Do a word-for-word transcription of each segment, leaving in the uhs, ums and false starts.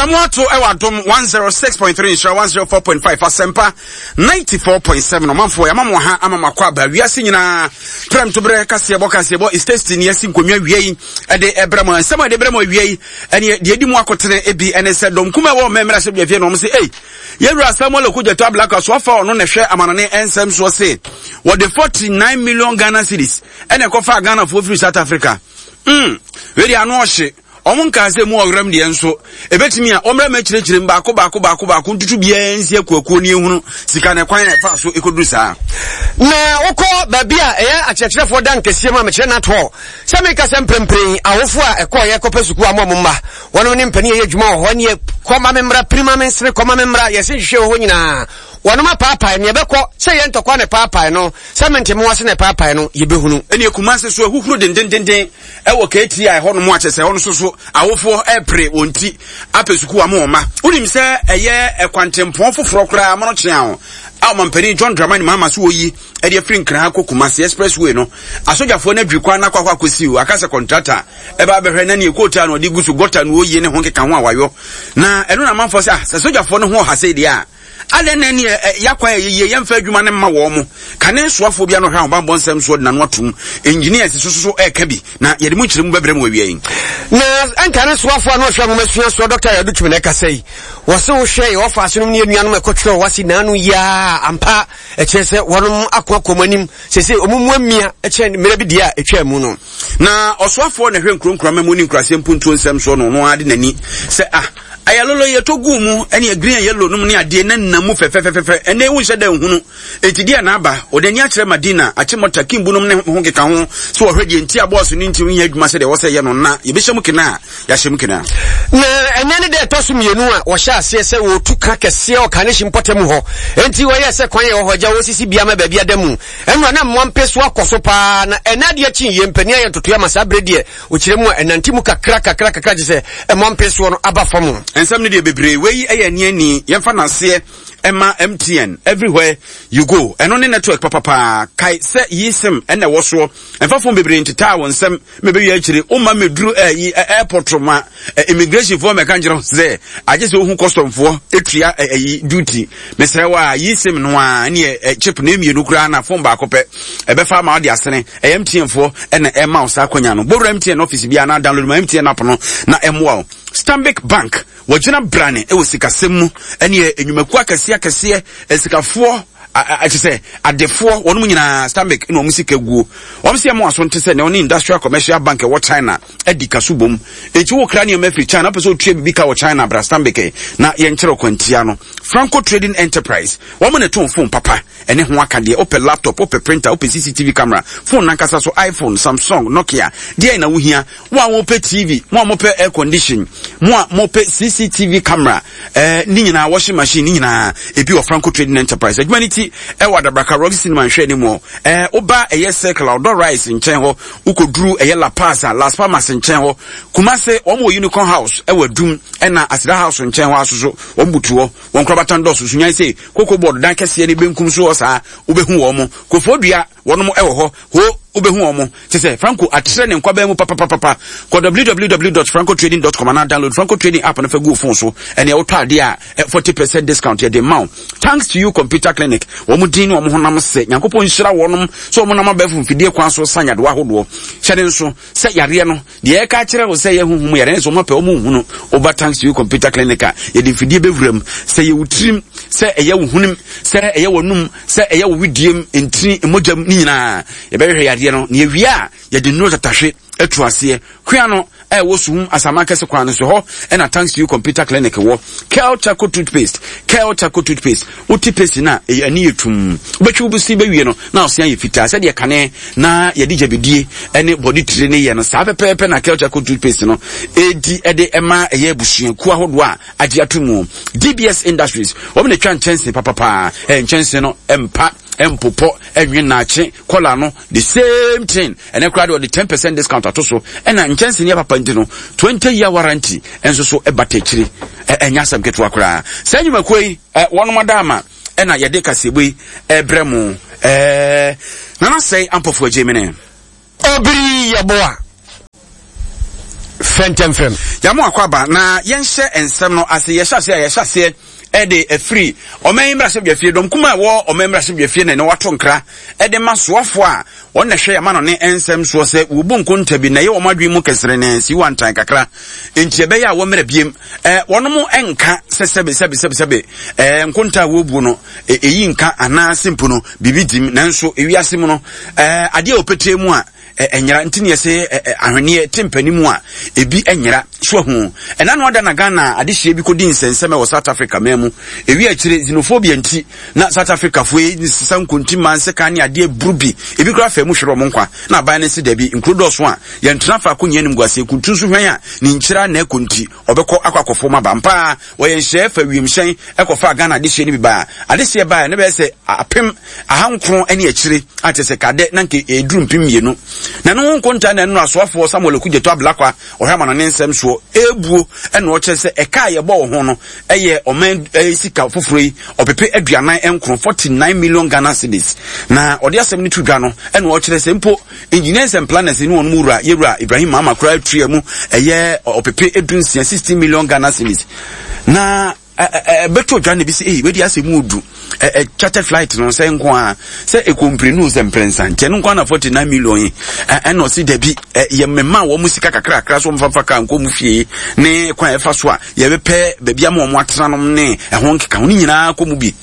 Abramo ato ɛwɔ Adom one oh six point three, Nhyira one oh four point five, Asɛmpa ninety-four point seven. Ɔmanfoɔ, yɛama mo ha ama mo akɔ aba wiase nyinaa. Prɛmtoberɛ kaseɛbɔ, kaseɛbɔ is tasty ne yɛasi nkonnwa wie yi ɛde ɛbrɛ mo. Nsɛm a ɛde brɛ mo awia yi ɛne deɛ ɛdi mu akotene ebi ɛne sɛ dɔm kum a ɛwɔ mmɛmmerɛ ahyɛ biafie na ɔmo sɛ ei, yɛwura Samuel Okudzeto Ablakwa so afa ɔno na ɛhwɛ amanɔne nsɛm soɔ se wɔde forty-nine million Ghana cedis ɛna ɛkɔfa Ghanafoɔ firi South Africa. mm wei deɛ ano ɔhye. Ɔmo nkaa sɛ mu ɔwerɛm deɛ nso ebetumi a ɔmmerɛ ma akyerɛkyerɛ mu baako baako baako baako ntutu biara nsi akuakuo ne ehunu sika na ɛkwan a ɛfa so ekodu saa. Na wokɔ baabi a ɛyɛ akyerɛkyerɛfoɔ da nkɛseɛ mu a, mekyerɛ NATHɔ sɛ meka sɛ mprempren awofo a ɛkɔɔyɛ kɔpɛ sukuu ama ɔmo mma wɔnom ne mpanin ɛyɛ adwuma wɔ hɔ neɛ kɔma me mmra, pirima me nsene, kɔma me mmra, yɛse nhwehwɛ wɔ hɔ nyinaa wɔnom apaapae neɛ ɛbɛkɔ sɛ yɛ ntɔkwa ne paapae no sɛ mente mo ase ne paapae no, yɛbɛhunu. Ɛne Kumase so ahuhuro dendendenden ɛwɔ K T I hɔ nom akyɛ sɛ hɔ no so so awofoɔ ɛpere wɔn ti apɛ sukuu ama wɔn ma. Wonim sɛ ɛyɛ ɛkwantempɔn foforɔ koraa mono kyea ho a ɔmampanin John Dramani Mahama so wɔyi ɛde afiri Nkran akɔ Kumase expressway no, asogyafoɔ no adwiri kwan no akɔ akɔ akɔsi o aka sɛ contractor ɛba abɛhwɛ na neɛ kootaa no ɔde gu so gɔta no wɔyie ne ho nkeka ho a wayɔ na ɛno na amanfoɔ sɛ ah, sɛ sogyafoɔ no ho ɔha sei deɛ a, adɛn na ɛneɛ yɛakwan a yɛyie yɛmfa adwuma no mma wɔn mo kane soafoɔ bi ano hwɛ ahobanbɔ nsɛm soɔ de n'ano atom. Engineers so so ɛɛka bi na yɛde mu nkyerɛmu bɛbrɛ mu awia yi. Na ɛnka ne soafoɔ a na ɔhwɛ nwoma sua soɔ, Doctor Yadu Twum, na ɛkasa yi, wɔse wohwɛ yɛ wɔfa ase nom ne yɛnuanom ɛkɔtwerɛ wase naano yiaa ampa, ɛkyerɛ sɛ wɔnom ako akɔ mu anim sɛsɛ ɔmu mu amia ɛkyɛn mmerɛ bi deɛ a ɛtwaa mu no. Na ɔsoafoɔ na ɛhwɛ nkuro nkurama mu ne nkuraseɛ mpuntuo nsɛm soɔ no, ɔno ara de n'ani sɛ ah, ayalolo yɛtɔ guu mu ɛne green and yellow nom ne adeɛ na nam mu fɛfɛfɛfɛ, ɛnɛ wonhyɛ da nhunu enti deɛ na aba. Ɔde ani akyerɛ Madina Akyemɔta Kimbu nom ne ho keka ho so wɔhwɛ deɛ nti a bɔɔso no nti wonya adwuma sɛdeɛ ɛwɔ sɛ yɛ no na yɛbɛhyɛ mu kena a yɛahyɛ mu kena. Na ɛnɛ ne dɛ ɛtɔ so mmienu a wɔhyɛ aseɛ sɛ wɔtu ka kɛseɛ wɔ Kanehyi mpɔtam hɔ, enti wɔyɛ sɛ kwan yɛ wɔ hɔ agya wɔsisi bia ma baabi ada mu ɛno na mmoa mpe so akɔ so paa. Na ɛnɛ adeɛ kyi yɛ mpanin ayɛ ntotoeɛ ama saa berɛ deɛ ɔkyerɛ mu a ɛnante mu kakra kakra kakra gye sɛ ɛmmoa mpe soɔ no aba fam. Nsɛm no deɛ bebree, wei yɛ ani ani yɛmfa n'aseɛ ɛma M T N. Everywhere you go, ɛno ne network papapaa. Kae sɛ yi SIM ɛna ɛwɔ soɔ, ɛmfa phone bebree ntetaa wɔn nsɛm mɛbɛwie akyire woma mɛduru ɛyi airport ma immigration foɔ mɛka nkyerɛ sɛ agye sɛ wohu custom foɔ etua ɛyi duty. Mesrɛ wo a, yi SIM no a ɛne chip na mmienu koraa na phone baako pɛ ɛbɛfa ama wode asene. Ɛyɛ M T N foɔ ɛna ɛma wo saa akɔnya no. Bɔwura M T N office bi a na download ma M T N app no na ɛmmoa wo. Stanbic Bank wɔgyina brane ɛwɔ sikasɛm mu ɛne nnwumakuo akɛseɛ akɛseɛ, asikafoɔ akyɛ sɛ adefoɔ wɔn nyinaa, Stanbic na wɔn sika guo. Wɔn sɛ ɛmo aso nte sɛ na wɔne Industrial Commercial Bank ɛwɔ China adi kaso bom, eti wokra nneɛma afiri China, wopɛ sɛ otua bibi ka wɔ China, bra Stanbic na yɛnkyerɛ kwantia no. Franco Trading Enterprise, wɔn na ɛtɔn phone papa ɛne ho aka deɛ. Wopɛ laptop, wopɛ printer, wopɛ C C T V camera, phone nankasa so, iPhone, Samsung, Nokia, deɛ na wohia. Mo a mopɛ T V, mo a mopɛ air condition, mo a mopɛ C C T V camera, ɛɛ ne nyinaa, washing machine, ne nyinaa ebi wɔ Franco Trading Enterprise. Adwuma ne ti ɛwɔ Adabraka, Roxy Cinema nhwɛ ne mu. ɛɛ woba ɛyɛ Circle a ɔdɔ rice nkyɛn hɔ, wokɔduru ɛyɛ La Paz a, Las Palmas nkyɛn hɔ. Kumase, wɔn wɔ Unicorn House ɛwɔ Adum, ɛna Aseda House nkyɛn hɔ asoso wɔn butu hɔ. Wɔn korabatan dɔso so nyan sɛ Cocoa Board dan kɛseɛ ne benkum so hɔ saa, wobɛhu wɔn mo. Kofoɔ wɔnom ɛwɔ hɔ ho, wobɛhu wɔn mo te sɛ Franco atrɛ ne nkwabɛn mu papapapa. Kɔ w w w dot francotrading dot com anaa download Franco Trading app no fa gu phone so. Ɛnea wotɔ adeɛ a, forty percent discount yɛde ma wo. Thanks To You Computer Clinic, wɔn din ne wɔn honam sɛ Nyankopɔn nhyira wɔnom sɛ wɔn nam abɛɛfo mfidie kwan so sa nyadewa ahodoɔ. Hyɛ ne nso sɛ yareɛ no deɛ ɛka kyerɛ wo sɛ yɛ huhum yareɛ no sɛ wɔn apɛ wɔn nhunu. Woba Thanks To You Computer Clinic a, yɛde mfidie bɛwura mu sɛ yɛ wo tirim, sɛ ɛyɛ wo hunim, sɛ ɛyɛ w'anum, sɛ ɛyɛ wo widiem, ntini, mogya mu ne nyinaa, yɛbɛhwehwɛ yareɛ no na yɛwie a, yɛde nnuro tatahwe atu aseɛ. Kua no ɛwɔ Suhum Asama kɛse kwan no so hɔ ɛna Thanks To You Computer Clinic wɔ. Kel Charcoal Toothpaste, Kel Charcoal Toothpaste, wote paste no a, ɛyɛ ani yɛ tum, wobɛtwi wo si bɛwie no na ɔse ayɛ fitaa sɛdeɛ kane na yɛde gyabidie ɛne bɔde tire ne yɛ no saa pɛpɛɛpɛ. Na Kel Charcoal Toothpaste no ɛdi ɛde ɛma ɛyɛ abusuakuo ahodoɔ a agye ato mu. D B S Industries, wɔn na atwa nkyɛnse papapaa. Ɛyɛ nkyɛnse no mpa mpopɔ ɛnwe naakye kɔla no, the same thing. Ɛnɛ koraa de ɔde ten percent discount ato so, ɛna nkyɛnse ne papa nti no, twenty year warranty nso so ɛbata akyire. Ɛnyɛ asɛm ketewa koraa. Saa nnwumakuo yi ɛ wɔnom ada ama ɛna yɛde kaseɛbɔ yi ɛbrɛ mu. ɛɛ nana sɛe ampɔfo agye mene. Obiri Yɛboa. Fɛntɛmfrɛm. Yɛamo akɔ aba na yɛnhyɛ nsɛm no ase. Yɛhyɛ aseɛ a, yɛhyɛ aseɛ ɛde afiri ɔman yi mmarahyɛbadwafie. Dɔm kuma a ɛwɔ ɔman mmarahyɛbadwafie na ɛne wato nkra ɛde ma soafoɔ a wɔn na hwɛ yɛma no ne nsɛm soɔ sɛ wɔbu nkonta bi na ɛyɛ wɔn adwene mu kɛsere ne si wantan kakra, nti ɛbɛyɛ a wɔmmerɛ biem ɛɛ wɔn nka sɛ sɛbe sɛbe sɛbe sɛbe ɛɛ nkonta a wɔrebu no, ɛyi nka anaasɛ mpo no biribi dim. Nanso ewiase mu no, ɛɛ adeɛ a wɔpɛtɛ mu a ɛnyera nti ne yɛsɛ ahweneɛ te mpani mu a ebi nyera so ahu. Ɛna no ada na Ghana adehyeɛ bi kɔdi nsɛnsɛm wɔ South Africa man mu. Ewi akyire xenophobia nti na South Africa foɔ yi sesa nkonti mmaa nseka ne adeɛ buru bi, ebi koraa fɛ mu hwere ɔmo nkwa. Na aban no si dabi, nkuro dɔɔso a yɛntena faako nyɛ nim guaseɛ kuntu nso hwɛn a ne nkyira na ɛkɔ, nti ɔbɛkɔ akɔ akɔfo ma ba mpaa. Wɔyɛ nhyɛ fa wiemhyɛn ɛkɔfa Ghana adehyeɛ no bi baa. Adehyeɛ baa ne bɛyɛ sɛ apem ahankron ne akyire akyɛ sɛ kadɛ na nke ɛduru mpem mmienu. Na no ho nkonta na ɛno asoafoɔ Samuel Okudzeto Ablakwa ɔhwɛ ama no ne nsɛm soɔ ebuo, ɛna ɔkyerɛ sɛ ɛka a yɛbɔ wɔ ho no ɛyɛ ɔman ɛyɛ sika foforɔ yi ɔpepe aduanan nkron, forty nine million Ghana cedis. Na ɔde asɛm no to dwa no, ɛna ɔkyerɛ sɛ mpo Engineers and Planners ne wɔn mu wura yɛwura Ibrahim Mahama koraa atua mu ɛyɛ ɔpepe edu nsia, sixteen million Ghana cedis. Na ɛbɛtɔ dwa na ebi sɛ ee wei asɛ mu odu ɛ charter flight no sɛ nko a sɛ ekompire sɛ mprɛnsa nkyɛn no nko a na forty nine million yi. Ɛna ɔsi dabi, ɛ yɛ mmɛma wɔn sika kakrakra so wɔn kaa nkɔ mu fie ne kwan ɛfa so a yɛbɛpɛ baabi ama wɔn atena nom ne ɛho nkeka ho ne nyinaa kɔ mu bi.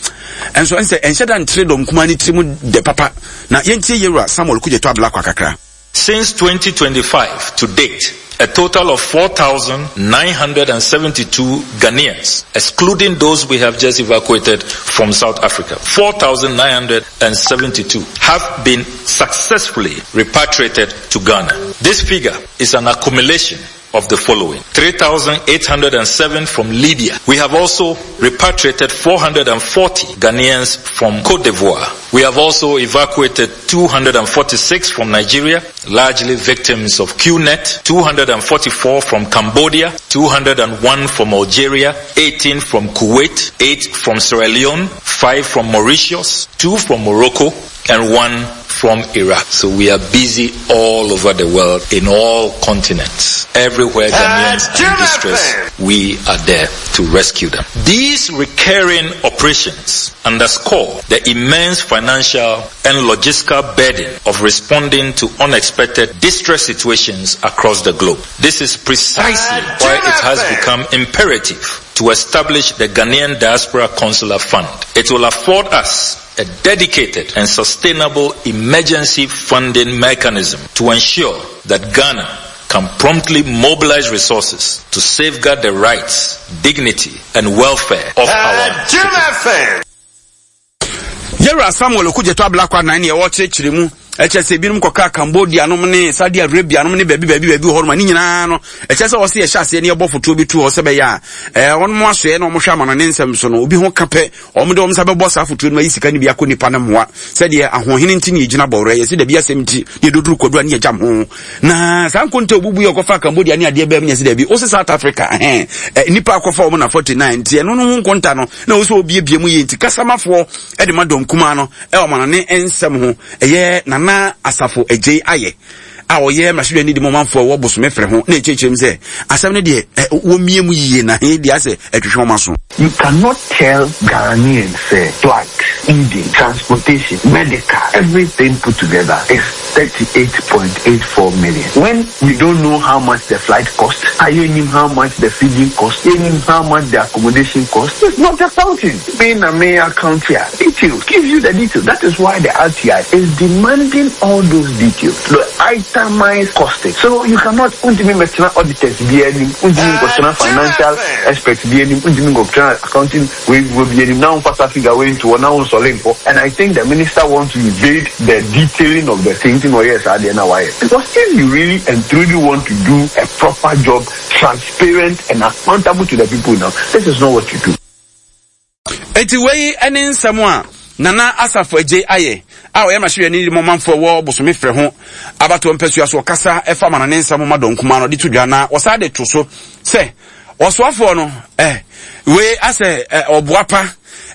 Ɛnso ɛnsɛ ɛnhyɛ da ntere dɔm kumaa ne tiri mu dɛ papa. Na yɛntie yɛwura Samuel Okudzeto Ablakwa kakra. Since twenty twenty-five to date, a total of four thousand nine hundred seventy-two Ghanaians, excluding those we have just evacuated from South Africa, four thousand nine hundred seventy-two have been successfully repatriated to Ghana. This figure is an accumulation of the following. three thousand eight hundred seven from Libya. We have also repatriated four hundred forty Ghanaians from Cote d'Ivoire. We have also evacuated two hundred forty-six from Nigeria, largely victims of Q net, two hundred forty-four from Cambodia, two hundred one from Algeria, eighteen from Kuwait, eight from Sierra Leone, five from Mauritius, two from Morocco, and one from Iraq. So we are busy all over the world, in all continents. Everywhere Ghanaians are in distress, we are there to rescue them. These recurring operations underscore the immense financial and logistical burden of responding to unexpected distress situations across the globe. This is precisely why it has become imperative to establish the Ghanaian Diaspora Consular Fund. It will afford us a dedicated and sustainable emergency funding mechanism to ensure that Ghana can promptly mobilize resources to safeguard the rights, dignity, and welfare of our citizens. Yɛwura Samuel Okudzeto Ablakwa nan ne ɛwɔ kyerɛkyerɛ mu ɛkyɛ sɛ ebinom kɔka Cambodia nom ne Saudi Arabia nom ne baabi baabi baabi wɔ hɔ nom a ne nyinaa no ɛkyɛ sɛ wɔsi yɛhyɛ aseɛ ne yɛbɔ fotoɔ bi to hɔ sɛ bɛyɛ a ɛɛ wɔn mo asoɛ na wɔn hwɛ ama no ne nsɛm so no, obi ho ka pɛ, wɔn de wɔn nsa bɛbɔ saa fotoɔ no mu ayi sika no bi akɔ nipa no mmoa. Sɛdeɛ ahoɔhene nti ne yɛgyina bɔwerɛ yɛsi dabi asɛm nti ne yɛdoduru kwadura ne yɛgyam ho na saa nkonta obubu yɛ ɔkɔfa Cambodia ne adeɛ bɛɛ mu nyɛ sɛ dabi wosi South Africa ɛhɛn ɛ nipa akɔfa wɔn na forty nine nti ɛno no ho nkonta no na wosɛ obiebie mu yie. Nti kasamafoɔ ɛde ma dɔm kumaa no ɛwɔ ma no ne nsɛm ho ɛyɛ Nana Asafo Agyei ayɛ a ɔyɛ mmarahyɛbadwani de ma ɔmanfoɔ a ɛwɔ Bosome Frɛ ho na ɛkyerɛkyerɛ mu sɛ asɛm no deɛ ɛ wɔmmie mu yie na he deɛ asɛ ɛtwehwɛ wɔn aso. You cannot tell Ghanaians say flight, feeding, transportation, medical, everything put together is thirty-eight point eight four million. When we don't know how much the flight cost, I know how much the feeding cost, I know how much the accommodation cost. It's not accounting. Being a mayor account here, details, gives you the details. That is why the R T I is demanding all those details. The itemized costing. So you cannot, untimi metena auditors bi anim, untimi nkɔtena financial experts bi anim, untimi nkɔtena accounting wey wey bi anim. Now nfa figure wey into now nsɔle nkɔ. And I think the minister wants to evade the detailing of the thing. Oh yes, I now why? Because if you really and truly want to do a proper job, transparent and accountable to the people now, this is not what you do. Eti wei ne nsɛm a Nana Asafo Agye ayɛ a ɔyɛ mmarahyɛbadwani de ma ɔmanfoɔ ɛwɔ Bosome Frɛ ho abatoɔ mpasua so ɔkasa ɛfa ma no ne nsɛm ma dɔm kumaa no de to dwa. Na wɔsan de to so sɛ ɔsoafoɔ no ɛ wei asɛ ɛ ɔboa pa.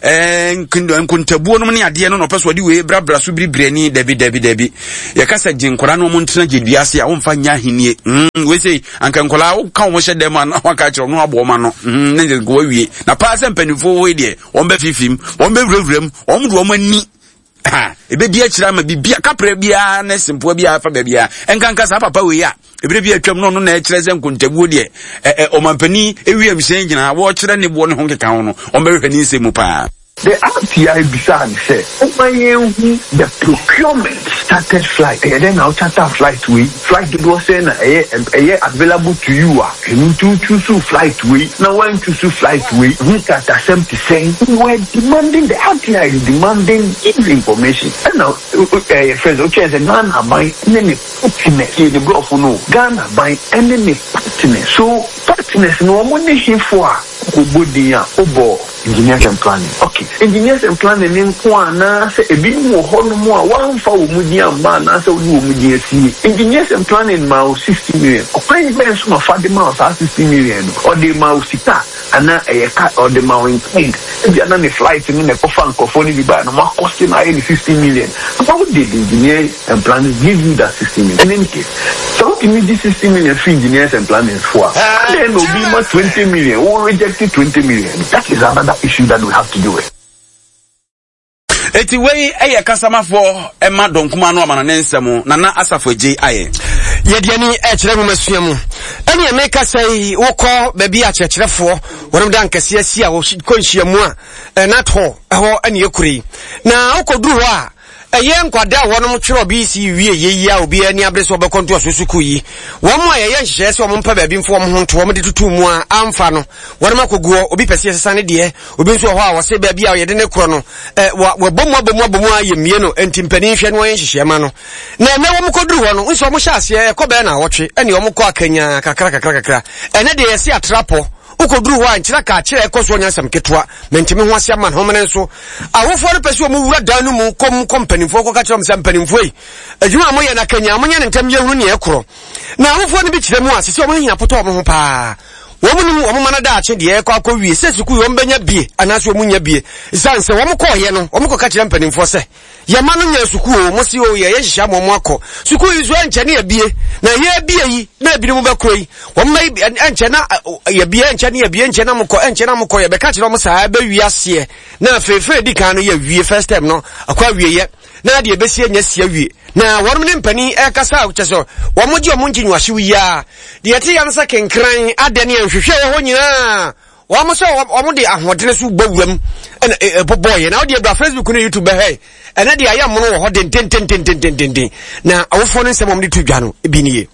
eh, nkontabuo nom ne adeɛ no na ɔpɛ so ɔde wei brabra so biribirani. Dabi, dabi, dabi, yɛka sɛ gye nkwadaa no, ɔmo ntena gye dua ase a womfa nya ahennie. mm, wei sei anka nkwadaa woka wɔn hyɛ dɛm a na waka kyerɛ ɔno abɔ ɔma no mm, ne nka wawie na paa sɛ mpanimfoɔ wei deɛ, wɔn bɛ fifim, wɔn bɛ wurawura mu, wɔn de wɔn ani ha ebedi akyire ama bibia kapra biara ne sempoa biara fa baabiara. Nkanka saa papa wei a ebire bi atwam no, ɔno na ɛkyerɛ sɛ nkontabuo deɛ ɛ ɛ ɔmampanin ewiem hyɛn gyina wɔrekyerɛ ne boɔ ne ho nkeka ho no, wɔn bɛhwehwɛ ne nsɛm mu paa. The R T I bisaa ne sɛ ɔma yɛnhu the procurement chartered flight. Ɛyɛ dɛn na wo charter flight wei? Flight dodoɔ sɛn na ɛyɛ ɛyɛ available to you a ɛno nti wo choose flight wei na woan choose flight wei ho nkratasɛm te sɛn? We were demanding, the R T I is demanding give information. Ɛna ɛyɛ fɛ sɛ wokyerɛ sɛ Ghana aban ne ne partners yɛ ne borɔfo no, Ghana aban ne ne partners. So partners no, wɔn ne hefo a wokɔbɔ din a wobɔ Engineers and Planning? Okay, Engineers and Planning ne nko anaasɛ ebinom wɔ hɔnom a wɔamfa wɔn mu din amma anaasɛ wɔde wɔn mu din asie? Engineers and Planning ma wo sixty million, ɔkwan bɛn so na ɔfa de ma wo saa sixty million no? Ɔde ma wo sika anaa ɛyɛ ka ɔde ma wo in kind? Ebi ana ne flight no na ɛkɔfa nkurɔfoɔ no bi baa na mo akɔsi na ayɛ ne sixty million? How did Engineers and Planning give you that sixty million? In any case, sɛ wotumi gye sixty million free Engineers and Planning fo a, adɛn na obi ma twenty million wo reject twenty million? That is another issue that we have to do with. Eti wei ɛyɛ kasamafoɔ ɛma dɔnkuma no amana ne nsɛm Nana Asafo Agye ayɛ. Yɛde ani ɛkyerɛ nwomasua mu. Ɛne ɛmeka sɛ yi, wokɔ baabi a akyerɛkyerɛfoɔ wɔnom da nkɛseɛ si a wɔkɔ nhyiamu a ɛnat hɔ ɛhɔ ɛne ɛkure yi na wokɔduru hɔ a, ɛyɛ nkwadaa a wɔnom twerɛ B C E wie yɛyi a obiara ani abere sɛ wɔbɛkɔ ntoaso sukuu yi. Wɔn a yɛyɛ nhyehyɛeɛ sɛ wɔn mpɛ baabi mfo wɔn ho nto wɔn de tutu mu a amfa no, wɔnom akɔguɔ. Obi pɛ sɛ yɛsesa ne deɛ, obi nso wɔ hɔ a wɔse baabi a yɛde ne korɔ no ɛ wɔ wɔbɔ mu abɔ mu abɔ mu a yɛ mmie no, nti mpanin hwɛ no wɔyɛ nhyehyɛeɛ ma no. Na ɛnɛ wɔn kɔduru hɔ no nso, wɔn hyɛ aseɛ ɛkɔ bɛyɛ na awɔtwe ɛne wɔn kɔ akanya kakra kakra kakra. Ɛnɛ deɛ yɛsi atrapɔ, wokɔduru hɔ a nkyerɛ ka akyerɛ ɛkɔ so ɔnya nsɛm ketewa mentumi ho ase ama ne homene nso. Awofoɔ no pɛ sɛ ɔmu wura dan no mu kɔm kɔ mpanimfoɔ kɔka kyerɛ ɔm sɛ mpanimfoɔ yi, adwuma a moyɛ no akanya monyɛ ne ntɛm, yɛhunu neɛ ɛkorɔ. Na awofoɔ no bi kyerɛ mu a sɛ sɛ ɔmo hia potɔ ɔmo ho paa, wɔn nim wɔn ma no daakye deɛ ɛkɔ akɔ wie sɛ sukuu wɔn bɛnya bie anaasɛ wɔn nya bie, ɛsiane sɛ wɔn kɔɔyɛ no, wɔn kɔka kyerɛ mpanimfoɔ sɛ yɛma no nya sukuu o, mo si o, yɛyɛ nhyehyɛ ama wɔn akɔ sukuu yi so, ɛnkyɛ ne yɛbie na yɛbie yi na ebinom bɛkorɔ yi wɔn bɛ ɛnkyɛ na yɛbie, ɛnkyɛ ne yɛbie, ɛnkyɛ na mokɔ, ɛnkyɛ na mokɔ. Yɛbɛka kyerɛ wɔn saa ɛbɛwie aseɛ na afei fɛn edi kan no yɛwie first term no akɔ awieɛ na deɛ ɛbɛsi anya si awie. Na wɔn ne mpanin ɛkasa kyɛ sɛ wɔn gye wɔn ngye nwahyew yi a deɛ ɛte ya no sɛ kenkran adɛ ne nhwehwɛ wɔ hɔ nyinaa, wɔn sɛ wɔn de ahoɔden so bɔ wuram ɛna ɛbɔbɔɔyɛ. Na wɔde abira Facebook ne YouTube bɛhɛ ɛnɛ deɛ ayɛ mono wɔ hɔ dendendendendendenden. Na awofoɔ no nsɛm wɔn de to dwa no ebi nie.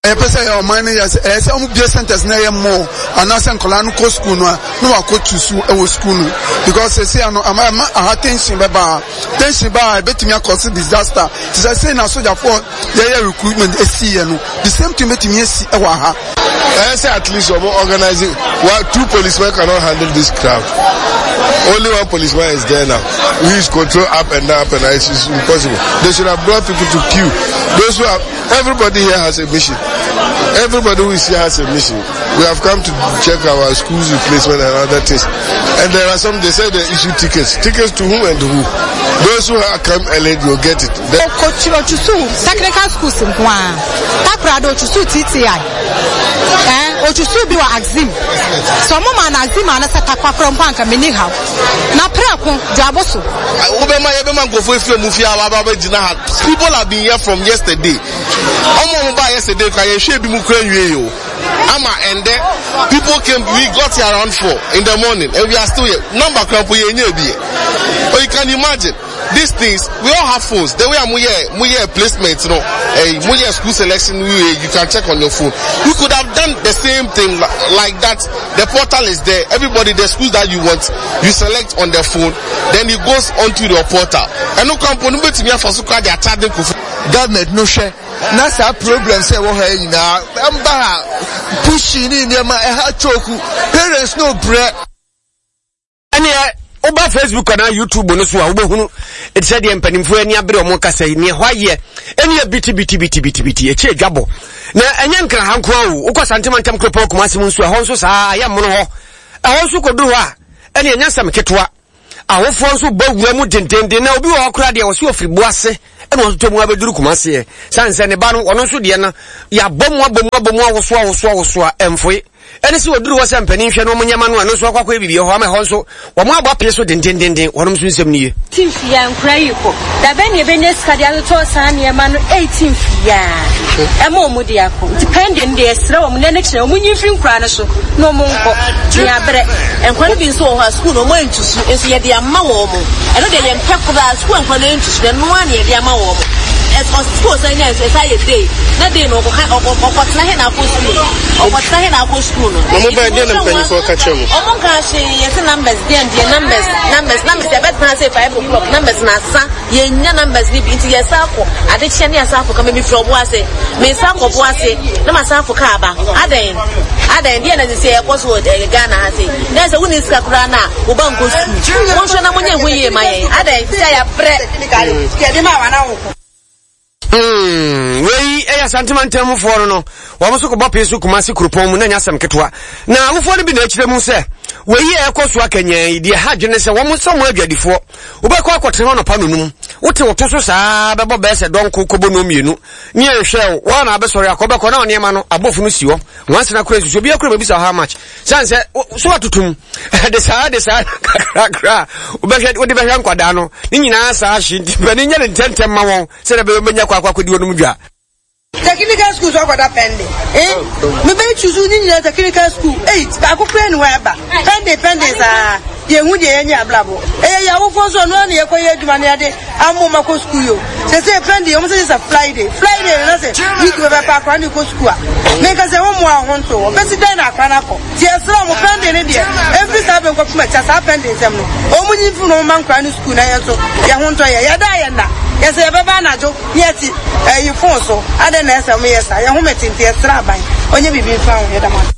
Ɛyɛ sɛ ɔman no yɛ sɛ ɛyɛ sɛ ɔmo bie centers na ɛyɛ more anaasɛ nkɔlaa no kɔ school no a na wakɔ tu so ɛwɔ school no, because sɛsi ano ama ɛma aha tension bɛba ha. Tension ba a, ebetumi akɔsi disaster te sɛ sei na sogyafoɔ yɛyɛ recruitment esi yɛ no, the same thing betumi esi ɛwɔ aha. Ɛyɛ sɛ at least ɔmo organizing well, two policemen cannot handle this crowd. Only one policeman is there now who is control up and down, up and down. It's, it's impossible. They should have brought people to queue. Those who are, everybody here has a mission. Everybody who is here has a mission. We have come to check our schools replacement and other things. And there are some, they say they issue tickets. Tickets to whom and who? Those who have come early will get it. Ɔkɔkyerɛ ɔtwusu technical schools nko a Takoradi, ɔtwusu T T I, ɛn ɔtwusu bi wɔ Axim sɛ ɔmo ma na Axim anasɛ Takwa korɔ mpo anka meni haw na prɛko dwabo so. Wobɛma yɛbɛma nkurɔfoɔ efiri ɔmo fie a waba abɛgyina ha. People have been here from yesterday. Ɔmo ɔmo ba yesterday kora, yɛhwɛ ebi mu kora nwie yi o ama ɛndɛ. People came, we got here around four in the morning and we are still here. Number kora mpo yɛn nyɛ bi yɛ. Oh, you can imagine these things. We all have phones. The way mo yɛ mo yɛ placement no, eh, mo yɛ school selection way, you can check on your phone. We could have done the same thing like that. The portal is there. Everybody, the schools that you want, you select on the phone, then it goes onto your portal. Ɛno kwan no betumi afa so kora de akyade nkofo. Government no hwɛ na saa problem sɛ ɛwɔ ha yi nyinaa ɛmba ha, pushing ne nneɛma ɛha choku parents no brɛ. Ɛneɛ woba Facebook anaa YouTube no so a, wobɛhunu ɛte sɛ deɛ mpanimfoɔ ani abere ɔmo kasa yi neɛ hɔ ayɛ ɛne bitibitibitibitibiti ɛkyi adwabɔ. Na ɛnyɛ Nkraha nko a o, wokɔ Santema ntam kuropɔn Kumase mu nso, ɛhɔ nso saa ayɛ mmono hɔ. Ɛhɔ nso kɔduru hɔ a, ɛne ɛnyɛ nsɛm ketewa. Awofoɔ nso bɔ wura mu dendenden na obi wɔ hɔ koraa deɛ ɔsi ofiri bo ase ɛna ɔtotɔ mu abɛduru Kumaseɛ san sɛ ne ba no ɔno nso deɛ no yɛabɔ mu abɔ mu abɔ mu awoso awoso awoso a ɛmfoe ɛne sɛ wɔduru hɔ sɛ mpanin hwɛ no ɔmo nyɛma no ɛno nso akɔ akɔyɛ biribi hɔ ama ɛhɔ nso wɔn abɔ apee so dendendenden wɔnom nso nsɛm nie. Eighteen fia nkura yi kɔ dabɛ ne ebɛnya sika de atotɔ saa nneɛma no eighteen fia ɛma ɔmo de akɔ nti pending deɛ ɛsrɛ wɔn na ne kyerɛ wɔn nyi mfiri nkura no so na ɔmo nkɔ ne abrɛ. Nkwa no bi nso wɔ hɔ a sukuu no ɔmo ntusu nso yɛde ama wɔn mo ɛno deɛ yɛn pɛ koraa sukuu nkwa no ntusu no ɛno ara na yɛde ama wɔn mo ɛsɔ sukuu sɛ nyɛ nso ɛsɛ ayɛ day na day no ɔkɔ ɔkɔtena he na akɔ sukuu ɔkɔtena he na akɔ sukuu no. Na mo bɛyɛ deɛ na mpanyinfoɔ ka kyerɛ mo. Ɔmo nka hwee yɛsɛ numbers deɛ deɛ numbers numbers numbers yɛbɛtena ase five o'clock numbers na asa yɛnya numbers ni bi nti yɛsa akɔ adekyɛ ne yɛsa akɔ kama mi firi ɔbo ase mesa akɔ ɔbo ase na ma sa akɔ kaa ba adɛn adɛn deɛ na sisi ɛkɔ so wɔ ɛɛ Ghana ha se na sɛ wonni sika koraa na wo ba nkɔ sukuu wɔnhwɛ na monyɛ ho yie ma yɛn adɛn sisi a yɛabrɛ. Hmm, wei ɛyɛ Asantema ntammufoɔ no no wɔn nso kɔbɔ pee so Kumasi kuropɔn mu na nyɛ asɛm ketewa na awofoɔ no bi na akyerɛ mu sɛ wei a ɛkɔ so akanyan yi deɛ ha adwene sɛ wɔn nso wɔn adwadifoɔ wobɛkɔ akɔtena hɔ nɔpa nonum wote wo to so saa bɛbɔ bɛyɛ sɛ dɔnko kɔbɔ no mmienu ne ɛnhwɛ wo wɔn na abɛsɔre akɔ bɛkɔ na nneɛma no abɔfo no si hɔ wɔn asena kora nsusu obi akora bɛbisa how much sane sɛ so atotom de saa de saa kakrakra wobɛhwɛ wode bɛhwɛ nkwadaa no ne nyinaa saa hye nti mpanin nyɛ ne ntɛntɛm ma wɔn sɛdeɛ bɛyɛ bɛnya kɔ akɔ akɔdi wɔnom dwa. Technical school so akɔda pending eh me bɛ choose ni nyina technical school eight baako kura ni hɔ ɛba pending pending saa yɛn hu deɛ yɛnyɛ abrabɔ ɛyɛ yɛ awofoɔ nso ɔno na yɛkɔ yɛ adwuma no yɛde ammo ma kɔ school yo sɛ sɛ pending wɔn sɛ sɛ Friday Friday na sɛ week bɛbɛ pa akora ne kɔ school a meka sɛ wɔn mu a ho nto wɔ bɛsi dan na akora no akɔ ti ɛsrɛ wɔn pending ne deɛ ɛmfiri saa bɛnkɔ fim akyi saa pending nsɛm no wɔn nyi mfiri na wɔn ma nkora no school na yɛn nso yɛn ho ntɔ yɛ yɛda yɛn na yɛsɛ yɛbɛba anadwo ne yɛte ɛyi phone so adɛn na ɛsɛ wɔn yɛ saa yɛn ho mɛtente yɛsrɛ aban ɔnyɛ biribi mfa ho yɛda mo ase.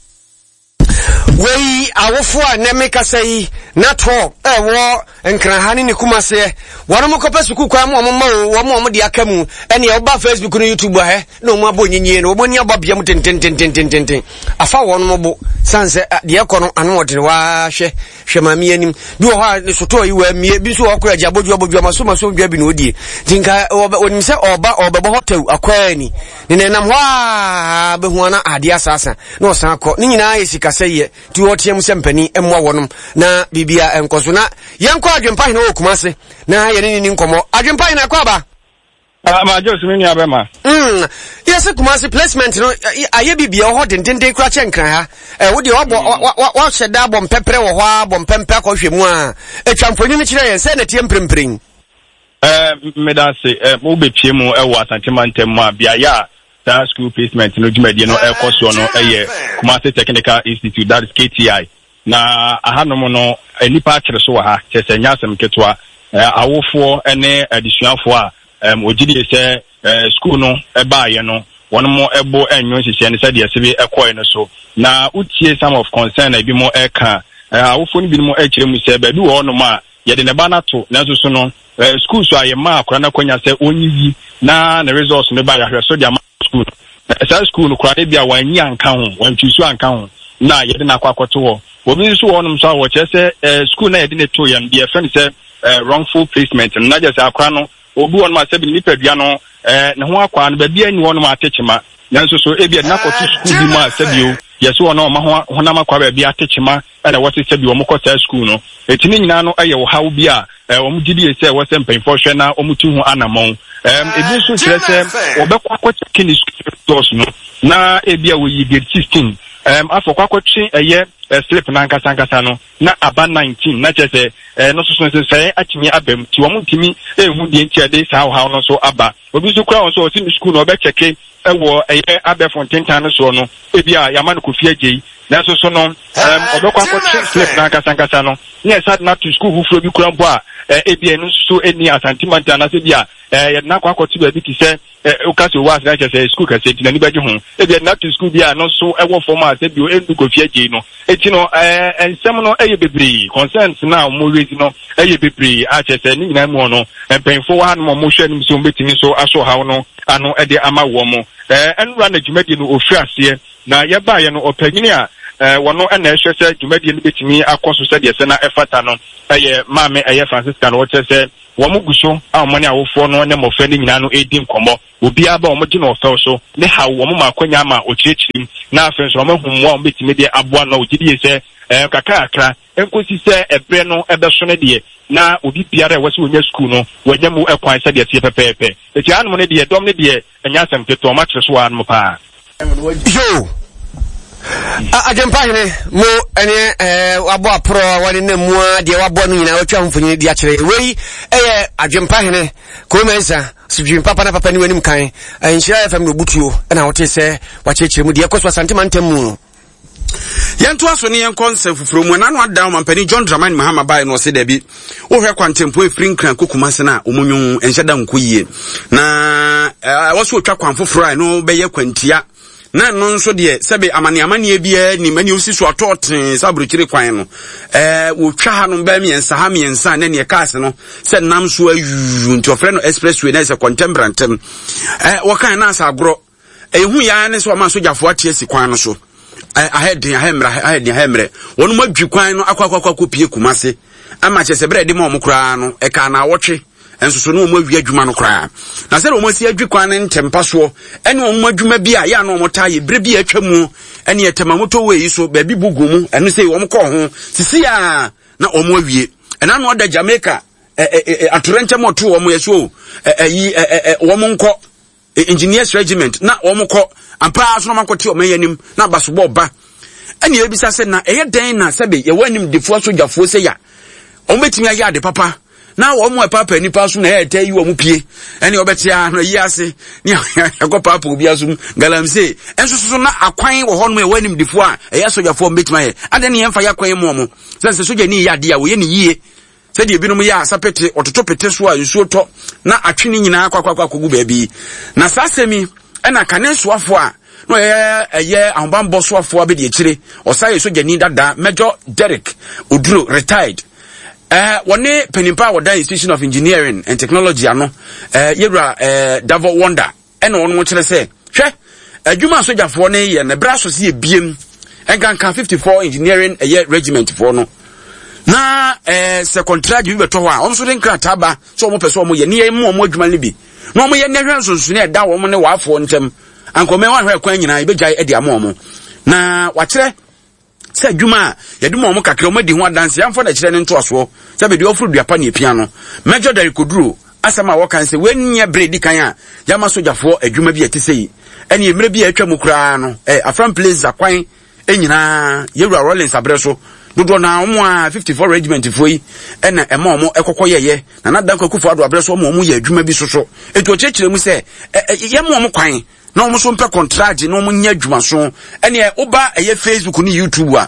Wei awofo a nnɛ mekasa yi na tɔ ɛwɔ Nkraha ne ne kumaseɛ wɔn mo kɔpɛ sukuu kwan mu wɔn ma o wɔn wɔn de aka mu ɛne ɛwoba Facebook no YouTube ahɛ na wɔn abɔ nyinyie no wɔn ani abɔ bea mu tentententententen afa wɔn mo bo san sɛ deɛ ɛkɔ no ano ɔdene waa hwɛ hwɛ maame anim bi wɔ hɔ a ne sotɔɔ yi wɔ amie bi nso wɔ kora agya abodua abodua maso maso dwa bi na odie nti nka wɔnim sɛ ɔba ɔbɛbɔ hɔ tɛw akɔɛ ni ne nenam hɔ a bɛhu ana adeɛ asasa na ɔsan akɔ ne nyinaa yɛ sikasɛyɛ nti wɔteɛ mu sɛ mpanin mmoa wɔnom na biribia ɛnkɔ so na yɛnkɔ Adwempa Hene wɔ Kumase na yɛne ne ni nkɔmmɔ. Adwempa Hene akɔ aba. Ah, ma Jose me nua bɛma. Mm, yɛsɛ Kumase placement no ayɛ bibia wɔ hɔ dendenden kora kyɛ Nkran ha. Eh, wo deɛ wabɔ wahyɛ da abɔ mpɛprɛ wɔ hɔ a bɔ mpɛmpɛ akɔhwɛ mu a atwa mfonini kyerɛ yɛn sɛ na ɛteɛ mprempren. Eh, meda ase. Eh, wobɛpie mu wɔ Asante mantam mu a beaeɛ a saa school placement no dwumadie no ɛkɔ soɔ no ɛyɛ Kumasi Technical Institute, that is K T I. Na ahanom no nnipa akyere so wɔ ha, kyerɛ sɛ ɛnyɛ asɛm ketewa. Awofoɔ ne adesuafoɔ a wɔgye die sɛ school no baeɛ no wɔn mo bo nnwo nhyehyɛɛ no sɛdeɛ ɛsebe ɛkɔɛ no so. Na wotie some of concern a ebinom ɛka, awofoɔ no binom ɛkyerɛ mu sɛ baabi wɔ hɔnom a yɛde ne ba no ato, nanso so no school so a yɛmaa akwadaa no akwanya sɛ ɔnyiyi na ne results no ba yɛahwɛ so de ama school no. Saa school no koraa no bi a wanyi anka ho, wantwi so anka ho na yɛde no akɔ akɔto hɔ. Obi nso wɔ hɔnom nso a wɔkyerɛ sɛ school na yɛde no to yɛn deɛ yɛfrɛ no sɛ wrongful placement no, na kyerɛ sɛ akwadaa no obi wɔ hɔnom a sɛbi ne nipadua no ne ho akwaa no baabi ani hɔnom atekyema, nanso so ebi yɛde no akɔto school bi mu a sɛbi o yɛsɛ wɔn a wɔn ho honam akwaa baabi atekyema ɛna wɔte sɛbi wɔn kɔ saa school no. Eti ne nyinaa no ɛyɛ ɔhaw bi a wɔn gye die sɛ wɔsɛ mpanyinfoɔ hwɛ na wɔn tu ho anammɔn. Ebi nso kyerɛ sɛ wɔbɛkɔ akɔkyɛke ne school results no na ebi a wɔyi grade sixteen afɔ kɔ akɔtwe ɛyɛ slip n'ankasa ankasa no na aba nineteen na kyerɛ sɛ ɛno nso so nsesɛe atumi aba mu nti wɔn ntumi ehu deɛ nti a ɛde saa ɔhaw no nso aba. Obi nso kura wɔn nso ɔsi ne school na ɔbɛkyɛke ɛwɔ ɛyɛ abɛɛfo ntentan no soɔ no ebi a yɛama no Kofi Agyei nanso so no ɔbɛkɔ akɔtwe slip n'ankasa ankasa no ne ɛsa de n'ato school foforɔ bi kura mpo a ebi a ɛno nso so ɛni Asante mantam anaasɛ bi a yɛde n'akɔ akɔto baabi te sɛ woka sɛ owó ase na kyerɛ sɛ school kɛseɛ nti n'ani bɛgye ho ebi yɛde n'ato school bi a ɛno nso ɛwɔ fam a sɛ bio ɛndu Kofi Agyei no eti no ɛɛ nsɛm no ɛyɛ bebree, concerns na wɔn raise no ɛyɛ bebree a kyerɛ sɛ ne nyinaa mu no mpanyinfoɔ wɔ hanom a wɔhwɛ anim sɛ wɔn bɛtumi nso aso ɔhaw no ano ɛde ama wɔn. Ɛɛ ɛnura na dwumadie no ofiri aseɛ na yɛbaayɛ no ɔpanyin a Wɔno na ɛhwɛ sɛ dwumadie no bɛtumi akɔ so sɛdeɛ ɛsɛ na ɛfata no yɛ Maame ɛyɛ Francisca na ɔkyerɛ sɛ wɔn gu so a wɔne awofoɔ no ne mmɔfra no nyinaa no redi nkɔmmɔ. Obiara ba a wɔgye no ɔfɛw so ne haw, wɔn ma akwanya ma ɔkyerɛkyerɛ mu na afei nso wɔahu mmoa a wɔbɛtumi de aboa no a wɔgye die sɛ kakra kakra nkosi sɛ ɛberɛ no bɛso no deɛ na obi biara a ɛwɔ sɛ ɔnya sukuu no wanya mu kwan sɛdeɛ ɛteɛ pɛpɛɛpɛ. Enti hanom no deɛ dɔm no deɛ ɛnyɛ asɛm ketewa, wɔakyere so wɔ hanom paa. Yo! Adwempa hene mo ɛne ɛɛ wabɔ aporɔ wɔne nam mu a deɛ wabɔ no nyinaa watwa ho mfonini de akyerɛ wei ɛyɛ adwempa hene kɔmɛnsa sodwin papa na papa ni w'anim kan nhyira fm na obutuo ɛna wote sɛ wakyerɛkyerɛ mu deɛ ɛkɔ so Asante mantam mu no. Yɛntoa so ne yɛnkɔ nsɛm foforɔ mu. Ɛna no ada ɔmampanin John Dramani Mahama baeɛ no ɔse daabi, wohwɛ kwantempɔn ɛfiri Nkran kɔ Kumase no a, wɔn nwon ɛnhyɛ da nkɔ yie. Na ɛwɔ so ɔtwa kwan foforɔ a ɛno bɛyɛ kwantia. Na ɛno nso deɛ sɛbe amane amaneɛ biara nim ɛne osi so atɔ tee sɛ aburokyire kwan no. Ɛɛ wɔtwa ha no bɛɛ mmiɛnsa ha mmiɛnsa na neɛ cars no sɛ nam so ayuu nti ɔfrɛ no expressway na ɛsɛ kɔntɛmbrantɛm. Ɛɛ wɔkan na asa agorɔ. Ehu yɛ ara ne sɛ wɔma sogyafoɔ ate asi kwan no so. Ahɛ den, ahɛ mmerɛ, ahɛ den, ahɛ mmerɛ. Wɔn mu adwi kwan no akɔ akɔ akɔ akɔ pie Kumase. Ama kyerɛ sɛ berɛ a ɛde ma wɔn koraa no, ɛkaa naawɔtwe nso so ne wɔn awie adwuma no koraa. Na sɛdeɛ wɔn asi adwi kwan no ntɛmpa soɔ ɛne wɔn adwuma bi a yɛ a na wɔn taa yɛ berɛ bi a atwa mu ɛne ɛtɛma motorway yi so baabi bu gu mu ɛno sɛ wɔn kɔɔ ho sisi a na wɔn awie. Ɛna ano ada Jamaica atorɛnkyɛm ɔto wɔn yɛ so ɛyi wɔn nkɔ Engineers Regiment na wɔn kɔ ampa ara so na wɔn akɔte wɔn anim na abasobɔ ba. Ɛna ebisa sɛ na ɛyɛ dɛn na sɛbe yɛwɔ animdefoɔ asogyafoɔ sɛ ya wɔn bɛtumi ayɛ ade papa na wɔn a ɛpaapa nipa so na ɛyɛ ɛtɛ yi wɔn pie ɛne wɔbɛte a na yi ase ne ɛkɔ paapa obi asom galamsey ɛnso so na akwan wɔ hɔnom ɛwɔ animdefoɔ a ɛyɛ asogyafoɔ wɔn bɛtumi ayɛ adeɛ ne yɛmfa yɛ akwan mu wɔn sɛ sɛ sogyani yɛ adeɛ a wɔyɛ ne yie. Sɛdeɛ ebinom yɛ a sapete, wɔtoto pete so a nsuo tɔ na atwe ne nyinaa akɔ akɔ akɔgu baabi. Na saa asɛm yi ɛna kane soafoɔ a na ɔyɛ ɛyɛ ahobanbɔ soafoɔ abɛdi akyire, ɔsan yɛ sogyani dada, Major Derek Oduro, retired. Eh, wɔne panimpa a wɔda Institution of Engineering and Technology ano, eh, yɛwura eh, Davo Wonder. Ɛna wɔn kyerɛ sɛ, hwɛ, adwuma a sogyafoɔ no yɛ no, ɛberɛ aso sɛ yɛbiem, nkanka fifty-four Engineering ɛyɛ regiment foɔ no, na ɛɛ sɛ kɔntragye bi bɛtɔ hɔ a, wɔn nso de nkrataa ba sɛ wɔn pɛ sɛ wɔn yɛ, ne yɛn mu wɔn adwuma no bi, na wɔn yɛ ne hwɛ nsonsonoeɛ a ɛda wɔn ne wɔafoɔ ntam, ankɔmɛ wɔn ahwɛ kwan nyinaa yɛbɛgyae de ama wɔn, na wakyerɛ sɛ adwuma a yɛde ma wɔn kakra wɔn adi ho adanse amfa na kyerɛ ne ntoasoɔ sɛ bɛde ɔforo dua pa ne epia no. Major Derek Oduro asɛm a wɔka sɛ wɔnyɛ bere di kan a yɛama sogyafoɔ adwuma bi a ɛte sɛ yi ɛne mmerɛ bi a atwa mu koraa no eh, Afram Plains akwan nyinaa yɛwura Rawlings aberɛ so dodoɔ na wɔn a fifty-four regiment foɔ yi ɛna ɛma wɔn ɛkɔkɔ yɛyɛ na Nana Dankwa Akufo-Addo aberɛ so wɔn wɔn yɛ adwuma bi soso eti ɔkyerɛkyerɛ mu sɛ yɛma wɔn kwan na wɔn nso mpɛ kɔntragye na wɔn nyɛ adwumaso. Ɛneɛ woba ɛyɛ Facebook ne YouTube a,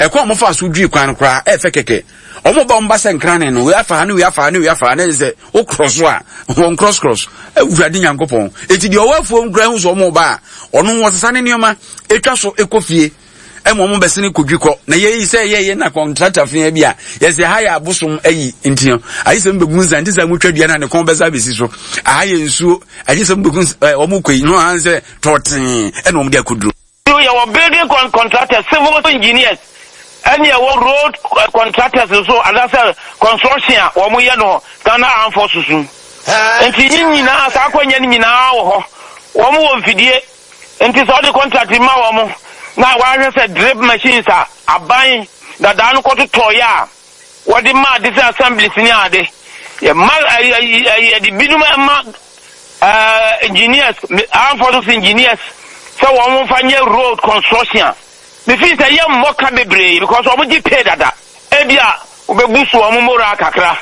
ɛkwan a wɔfa so dwi kwan no koraa ɛfɛ kɛkɛ. Wɔn ba wɔn ba sɛ nkrane no, wei afa ha ne wei afa ha ne wei afa ha ne sɛ wo cross a, wɔn cross cross. Awurade Nyankopɔn. Eti deɛ ɔwɔ afuom koraa hu sɛ wɔn ba a, ɔno wɔsesa ne nneɛma etwa so ekɔ fie. Ɛma wɔn bɛsene kɔdwi kɔ. Na yɛyi sɛ yɛyɛ na kɔntrata fea bi a, yɛsɛ ha yɛ abosom ayi nti no, agye sɛ mbɛgu nsa nti sɛ motwa dua no a ne kɔn bɛsa abɛsi so. Aha yɛ nsuo, agye sɛ mbɛgu nsa, ɛ, wɔn kɔ yi, no aha sɛ tɔɔtee ɛna wɔn de akɔduro. Yɛwɔ building contractors, civil engineers, ɛne yɛwɔ road contractors nso anaasɛ construction a wɔn yɛ no Ghana Armed Forces mu. Nti ne nyinaa, saa akwannya no nyinaa wɔ hɔ. Wɔn wɔ mfidie. Nti sɛ ɔde contract ma wɔn na wahwɛ sɛ drip machines a aban dadaa no kɔtotɔeɛ a wɔde ma ade sɛ assemblies ne ade, yɛma yɛde binom ma engineers, armed forces engineers sɛ wɔn mfa nyɛ road construction a, mefii sɛ yɛmmɔ ka bebree because wɔn gye pay dada. Ebi a wobɛbu so wɔn moral kakra,